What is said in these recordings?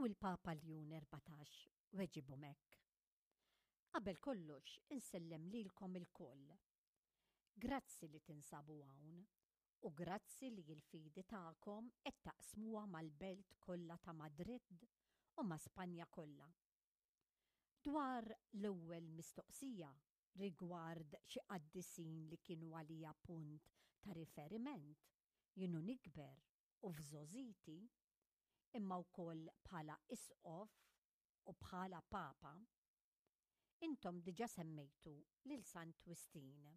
U l-Papa Ljun 14 weġibhom hekk. Qabel kollox insellem lilkom ilkoll. Grazzi li tinsabu hawn u grazzi li l-fidi tagħkom qed taqsmuha mal-belt kollha ta' Madrid u ma' Spanja kollha. Dwar l-ewwel mistoqsija rigward xi qaddisin li kienu għalija punt ta' riferiment jien u nikber u f'żgħożiti, imma wkoll bħala isqof u bħala Papa, intom diġà semmejtu lil Sant Wistin.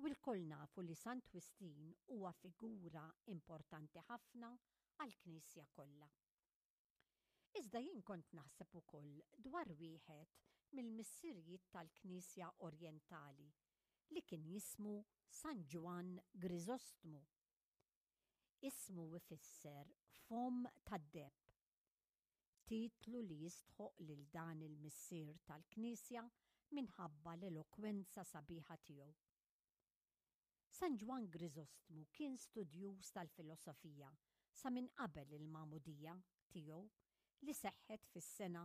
U lkoll nafu li Sant Wistin huwa figura importanti ħafna għall-Knisja kollha. Iżda jien kont naħseb ukoll dwar wieħed mill-missirijiet tal-Knisja Orjentali li kien jismu San Ġwann Griżostmu. Ismu ifisser Fomm tad-Deheb, titlu li jistħoqq lil dan il-missier tal-Knisja minħabba l-elokwenza sabiħa tiegħu. San Ġwann Griżostmu kien studjuż tal-filosofija sa minn qabel il-magħmudija tiegħu li seħħet fis-sena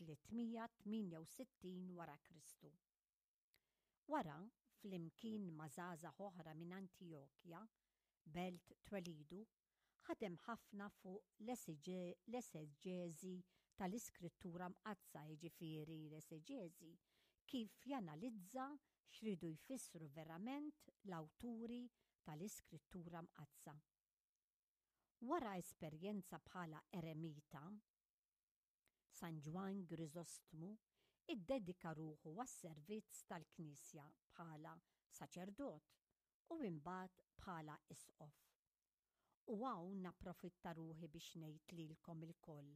368 wara Kristu. Wara, flimkien ma' żgħażagħ oħra minn Antijokja, belt twelidu, ħadem ħafna fuq l-eseġeżi tal-Iskrittura Mqaddsa, jiġifieri l-eseġeżi kif janalizza x'riedu jfissru verament l-awturi tal-Iskrittura Mqaddsa. Wara esperjenza bħala eremita, San Ġwann Griżostmu ddedika ruħu għas-servizz tal-Knisja bħala saċerdot u imbagħad bħala isqof. U hawn napprofitta ruħi biex ngħid lilkom ilkoll,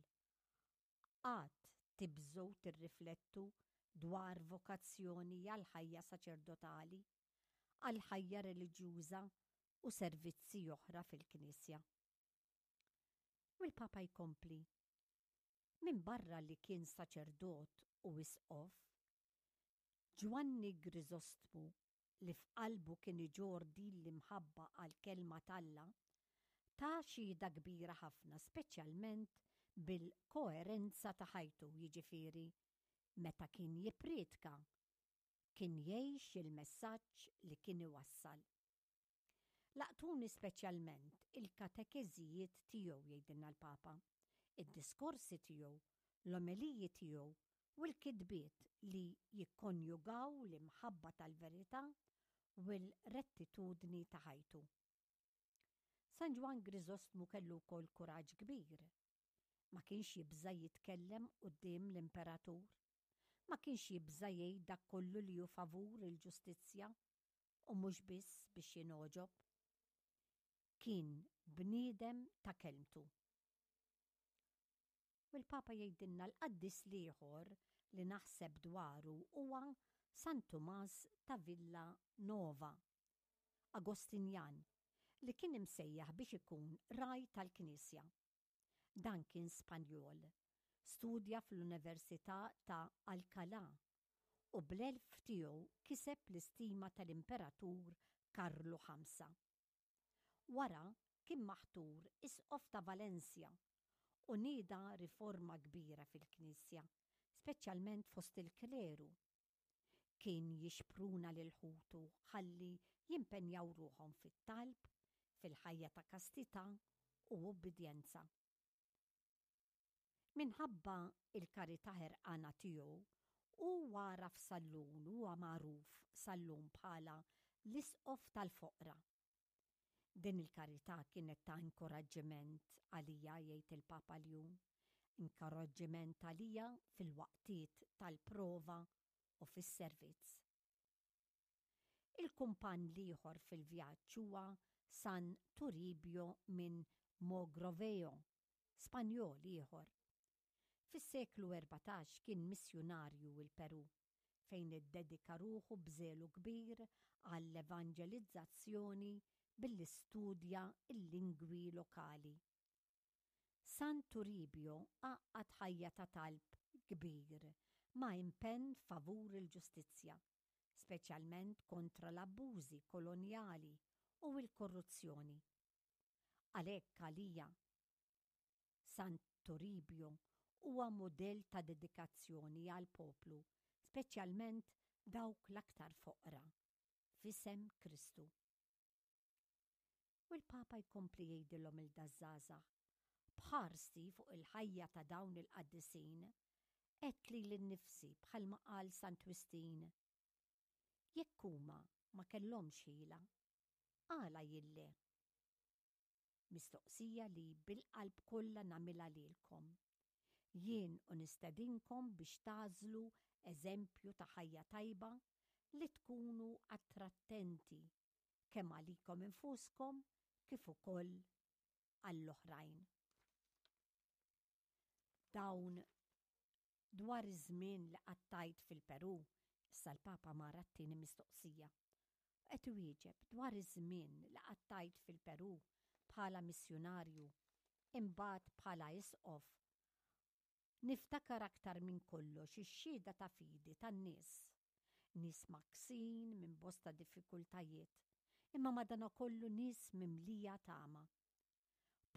qatt tibżgħu tirriflettu dwar vokazzjoni għall-ħajja saċerdotali, għall-ħajja reliġjuża u servizzi oħra fil-Knisja. U l-Papa jkompli, Minbarra li kien saċerdot u isqof, Ġwanni Griżostmu li f'qalbu kien iġorr din l-imħabba għall-Kelma t'Alla, ta xhieda kbira ħafna speċjalment bil-koerenza ta' ħajtu, jiġifieri meta kien jippriedka, kien jgħix il-messaġġ li kien iwassal. Laqtuni speċjalment il-katekeżijiet tiegħu, jgħidilna l-Papa, id-diskorsi tiegħu, l-omeliji tiegħu u l-kitbiet li jikkonjugaw l-imħabba tal-verità u l-rettitudni ta' ħajtu. San Ġwann Griżostmu kellu wkoll kuraġġ kbir. Ma kienx jibża' jitkellem quddiem l-imperatur. Ma kienx jibża' jgħid dak kollu li hu favur il-ġustizzja u mhux biss biex jingħoġob. Kien bniedem ta' kelmtu. U l-Papa jgħidilna l-qaddis l-ieħor li naħseb dwaru huwa San Tumas ta' Villa Nova, Agostinjan, li kien imsejjaħ biex ikun ragħaj tal-Knisja. Dan kien Spanjol, studja fl-Università ta' Alcalá u bl-għelf tiegħu kiseb l-istima tal-Imperatur Karlu Ħamsa. Wara kien maħtur Isqof ta' Valencia u nieda riforma kbira fil-Knisja, speċjalment fost il-kleru. Kien jixpruna lil ħutu ħalli jimpenjaw ruħhom fit-talb, fil-ħajja ta' kastità u ubbidjenza. Minħabba l-karità ħerqana tiegħu, hu għaraf sal-lum u huwa magħruf sal-lum bħala l-Isqof tal-Foqra. Din il-karità kienet ta' inkoraġġiment għalija, jgħid il-Papa Ljun, inkoraġġiment għalija fil-waqtiet tal-prova u fis-servizz. Il-kumpann l-ieħor fil-vjaġġ huwa San Turibio minn Mogrovejo, Spanjol ieħor. Fis-seklu 14 kien missjunarju l-Perù, fejn iddedika ruħu b'żelu kbir għall-evanġelizzazzjoni billi studja l-lingwi lokali. San Turibio għaqqad ħajja ta' talb kbir ma' impenn favur il-ġustizzja, speċjalment kontra l-abbużi kolonjali u l-korruzzjoni. Għalhekk għalija, San Turibio huwa mudell ta' dedikazzjoni għall-poplu, speċjalment dawk l-aktar foqra, f'isem Kristu. U l-Papa jkompli jgħidilhom 'il daż-żgħażagħ, B'ħarsti fuq il-ħajja ta' dawn il-qaddisin, għedt lili nnifsi bħalma qal Sant Wistin, Jekk huma ma kellhomx ħila, għala jien le? Mistoqsija li bil-qalb kollha nagħmilha lilkom. Jien u nistedinkom biex tagħżlu eżempju ta' ħajja tajba li tkunu attrattenti kemm għalikom infuskom kif ukoll għall-oħrajn. Dawn dwar iż-żmien li qattajt fil-Perù, issa l-Papa mar għat-tieni mistoqsija. Qed iwieġeb dwar iż-żmien li qattajt fil-Perù bħala missjunarju, imbagħad bħala isqof. Niftakar aktar minn kollox ix-xhieda ta' fidi tan-nies. Nies mgħakksin minn bosta diffikultajiet, imma madanakollu nies mimlija tama.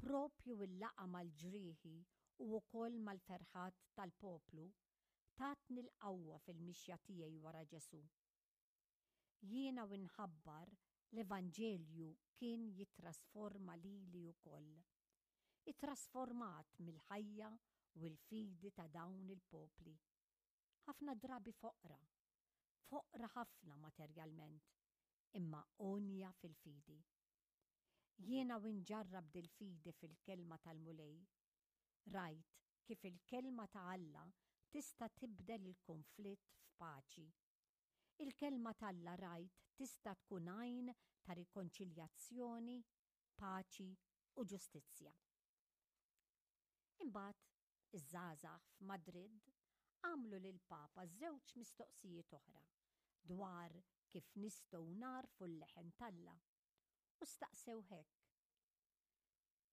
Proprju l-laqgħa mal-ġrieħi u wkoll mal-ferħat tal-poplu tatni l-qawwa fil-mixja tiegħi wara Ġesù. Jiena u nħabbar l-Evanġelju kien jittrasforma lili wkoll. Ittrasformat mill-ħajja u l-fidi ta' dawn il-popli. Ħafna drabi foqra, foqra ħafna materjalment, imma għonja fil-fidi. Jiena u nġarrab dil-fidi fil-Kelma tal-Mulej, rajt kif il-Kelma ta' Alla tista' tibdel il-kunflitt f'paċi. Il-Kelma t'Alla rajt tista' tkun għajn ta' rikonċiljazzjoni, paċi u ġustizzja. Imbagħad iż-żgħażagħ f'Madrid għamlu lill-Papa żewġ mistoqsijiet oħra dwar kif nistgħu nagħrfu l-leħen t'Alla u staqsewh hekk,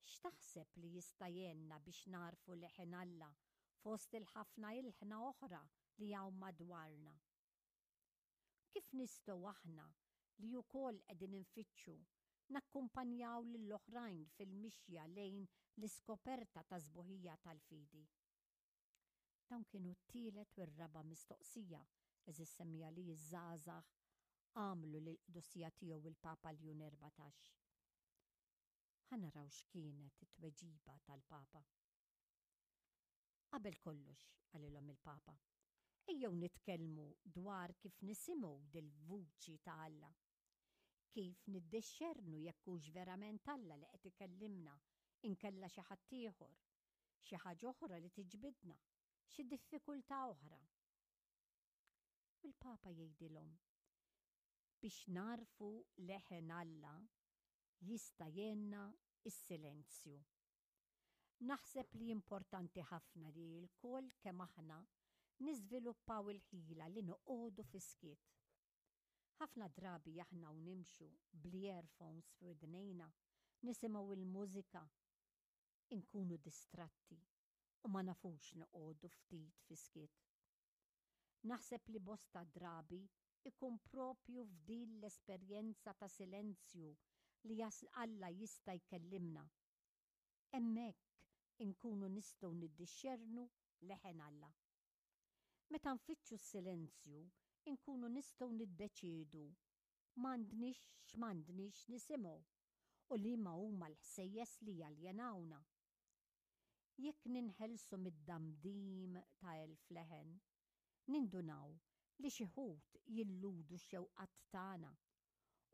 X'taħseb li jista' jgħinna biex nagħrfu leħen Alla fost il-ħafna ilħna oħra li hawn madwarna? Kif nistgħu aħna li wkoll qegħdin infittxu nakkumpanjaw lill-oħrajn fil-mixja lejn l-iskoperta tas-sbuħija tal-fidi? Dawn kienu t-tielet u r-raba' mistoqsija, għeżież semmiegħa li ż-żgħażagħ għamlu lill-Qdusija Tiegħu il-Papa Ljun 14. Ħa naraw x'kienet it-tweġiba tal-Papa. Qabel kollox, qalilhom il-Papa, ejjew nitkellmu dwar kif nisimgħu dil-vuċi ta' Alla. Kif niddixxernu jekk hux verament Alla li qed ikellimna inkella xi ħadd ieħor, xi ħaġa oħra li tiġbidna, xi diffikultà oħra. U l-Papa jgħidilhom, biex nagħrfu leħen Alla jista' jgħinna s-silenzju. Naħseb li importanti ħafna li lkoll kemm aħna niżviluppaw il-ħila li noqogħdu fis-skiet. Ħafna drabi aħna u nimxu bl-earphones f'widnejna, nisimgħu l-mużika, inkunu distratti u ma nafux noqogħdu ftit fis-skiet. Naħseb li bosta drabi ikun proprju f'din l-esperjenza ta' silenzju li Alla jista' jkellimna. Hemmhekk inkunu nistgħu niddixxernu leħen Alla. Meta nfittxu s-silenzju inkunu nistgħu niddeċiedu m'għandniex x'm'għandniex nisimgħu u liema huma l-ħsejjes li jaljenawna. Jekk ninħelsu mid-damdim ta' elf leħen, nindunaw li xi wħud jilludu x-xewqat tagħna,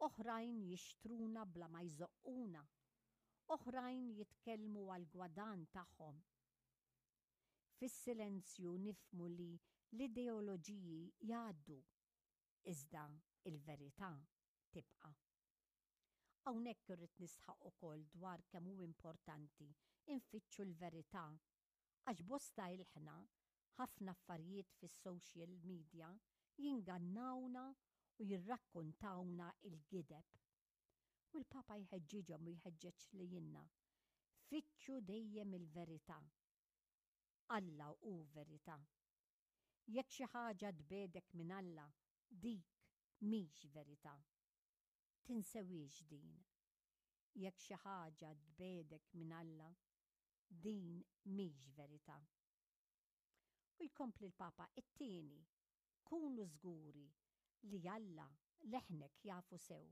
oħrajn jixtruna bla ma jżoqquna, oħrajn jitkellmu għall-gwadann tagħhom. Fis-silenzju nifhmu li l-ideoloġiji jgħaddu, iżda l-verità tibqa'. Hawnhekk irrid nisħaq ukoll dwar kemm hu importanti nfittxu l-verità għax bosta ilħna ħafna affarijiet fis-social media jingannawna u jirrakkontawna l-gideb. U l-Papa jħeġġiġhom u jħeġġeġ lilna, fittxu dejjem il-verità. Alla hu verità. Jekk xi ħaġa tbiegħdek minn Alla, dik mhix verità. Tinsewhiex din. Jekk xi ħaġa tbiegħdek minn Alla, din mhix verità. U jkompli l-Papa, It-tieni, kunu żguri li Alla leħnek jafu sew.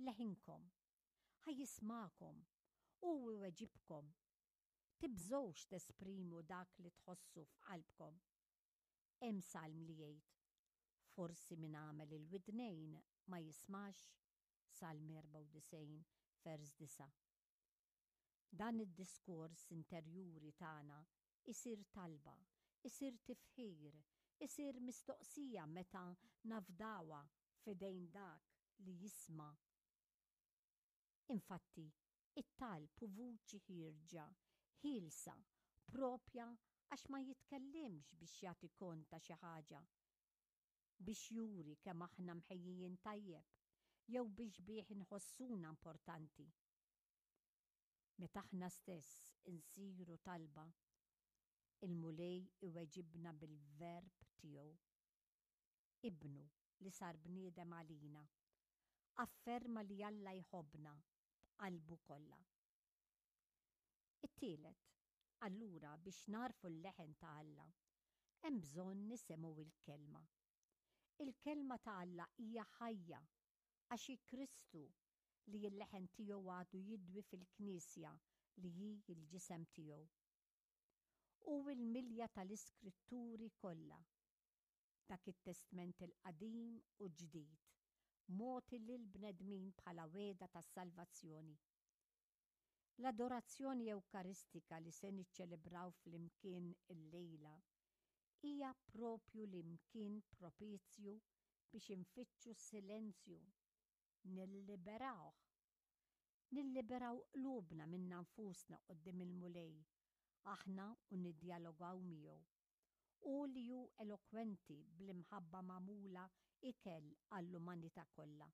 Leħinkom. Ħa jismagħkom u iweġibkom. Tibżgħux tesprimu dak li tħossu f'qalbkom. Hemm salm li jgħid, Forsi min għamel il-widnejn ma jismax? Salm 94, vers 9. Dan id-diskors interjuri tagħna jsir talba, isir tifħir, isir mistoqsija meta nafdawha f'idejn dak li jisma'. Infatti, it-talb hu vuċi ħierġa, ħielsa, proprja għax ma jitkellimx biex jagħti kont ta' xi ħaġa, biex juri kemm aħna mħejjijin tajjeb jew biex bih inħossuna importanti. Meta aħna stess insiru talba, il-Mulej iweġibna bil-Verb tiegħu. Ibnu li sar bniedem għalina, afferma li Alla jħobbna b'qalbu kollha. It-tielet, allura biex nagħrfu l-leħen ta' Alla, hemm bżonn nisimgħu l-Kelma. Il-Kelma ta' Alla hija ħajja għax hi Kristu li l-leħen tiegħu għadu jidwi fil-Knisja li hi l-ġisem tiegħu. Hu l-milja tal-Iskritturi kollha, dak it-Testment il-Qadim u Ġdid, mogħti lill-bnedmin bħala wegħda tas-salvazzjoni. L-adorazzjoni Ewkaristika li se niċċelebraw flimkien illejla hija proprju l-imkien propizju biex infittxu s-silenzju, nilliberawh. Nilliberaw qlubna minna nfusna quddiem il-Mulej, aħna u niddjalogaw miegħu. Hu li hu elokwenti bl-imħabba magħmula ikel għall-umanità kollha.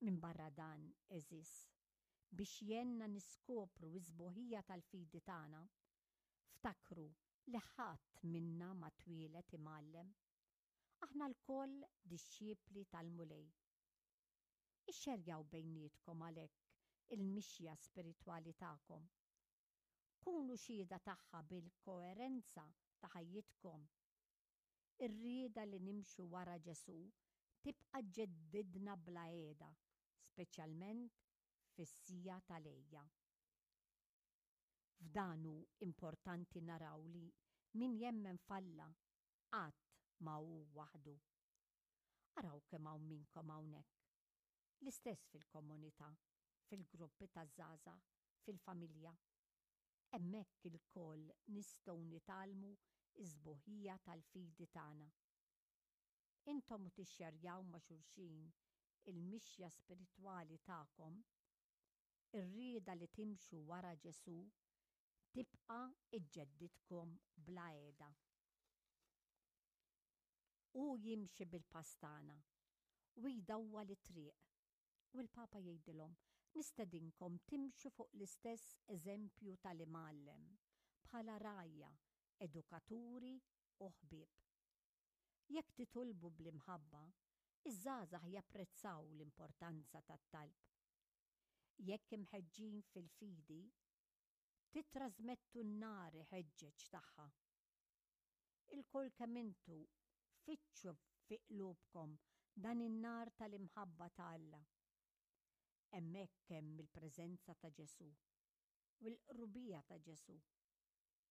Minbarra dan, għeżież, biex jgħinna niskopru s-sbuħija tal-fidi tagħna, ftakru li ħadd minna ma twieled imgħallem. Aħna lkoll dixxipli tal-Mulej. Ixxerjaw bejnietkom għalhekk il-mixja spiritwali tagħkom. Kunu xhieda tagħha bil-koerenza ta' ħajjitkom. Ir-rieda li nimxu wara Ġesù tibqa' ġġeddidna bla heda, speċjalment fis-siegħa tal-għejja. F'dan hu importanti naraw li min jemmen f'Alla qatt ma hu waħdu. Araw kemm hawn minnkom hawnhekk. L-istess fil-komunità, fil-gruppi taż-żgħażagħ, fil-familja. Hemmhekk ilkoll nistgħu nitgħallmu s-sbuħija tal-fidi tagħna. Intom u tixxerjaw ma' xulxin il-mixja spiritwali tagħkom, ir-rieda li timxu wara Ġesù tibqa' ġġeddidkom bla heda. Hu jimxi bil-pass tagħna u jdawwal it-triq. U l-Papa jgħidilhom, Nistedinkom timxu fuq l-istess eżempju tal-Imgħallem, bħala rgħajja, edukaturi u ħbieb. Jekk titolbu bl-imħabba, iż-żgħażagħ japprezzaw l-importanza tat-talb. Jekk imħeġġin fil-fidi, tittrażmettu n-nar iħeġġeġ tagħha. Ilkoll kemm intu fittxu fi qlubkom dan in-nar tal-imħabba ta' Alla. Hemmhekk hemm il-preżenza ta' Ġesù u l-qrubija ta' Ġesù.